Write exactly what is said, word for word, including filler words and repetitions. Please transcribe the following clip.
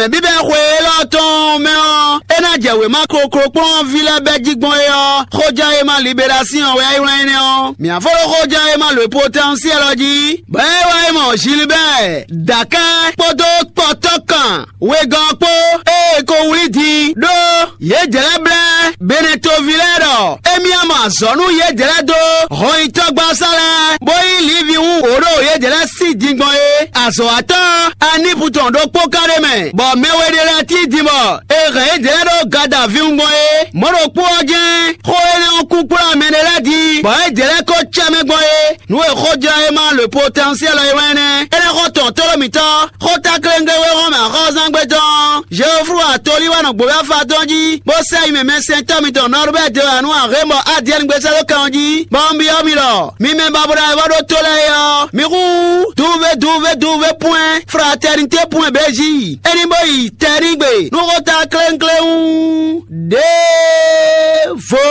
Mɛ bíbɛ́ xwe élɔ́ tɔn mɛ ɔ́, é ná jɛ wěma koklokplɔ́nví lɛ́ɛ bɛ́ jí gbɔn é ɔ́, xóján e ma libérasin ɔ́ wɛ é wlán énɛ́ ɔ́. Mǐ ǎ fó ɖó xóján e ma lǒ potɛnsiyɛl ɔ́ jí, bɔ é wá yi mɔ Zilibɛ́ɛ, Dakɛ́ kpódó kpɔtɔ́kan wegɔ́ ɔ́ kpó, ée ko wlí din ɖó yě jɛ lɛ́ blɛ́ Benetoví lɛ́ɛ ɖɔ émí ná mɔ azɔ̌ nú yě jɛ lɛ́ dó hɔnyitɔ́gbasá lɛ́ɛ, bó yí Livi wú wǒ ɖo yě jɛ lɛ́ sí din gbɔn é. Azɔ̌watɔ́ Anipu tɔn ɖokpó ka ɖ'é mɛ, bɔ mɛ we ɖé lɛ́ɛ cí din bɔ è hɛn yě jɛ lɛ́ ɖó Gadavíwun gbɔn é. Mɔ̌ ɖokpó ɔ́ jɛ́n xó énɛ́ ɔ́ kú kplá mɛ ɖé lɛ́ɛ din, bɔ yě jɛ lɛ́ ko cɛ mɛ gbɔn é. Nǔ e xójlá e ma le potɛnsiɛl ɔ́ é wɛ nɛ́. Énɛ́ xɔ tɔn tlóló mǐtɔn, xóta kléŋgléwé hɔn mɛ axɔ́zángbé tɔn Jeoflu atolí wɛ nɔ gbǒ afá tɔn jí, bó sɛ yi mɛ mɛsɛntɔ́ mitɔn Nɔrubɛ́ de wɛ nú axé bɔ Adiɛ́ni gbé sɛ́ dó kan ɔ́ jí, bɔ un byɔ́ mi ɖɔ mi mɛ babɔɖa e vɔ ɖó tó lɛ́ɛ é ɔ́, mi hú duve duve duve pwɛn fratɛnité pwɛn bějí. É ní bó yi tɛ́ n'i gbe nú xóta kléŋkléwún ɖěvo.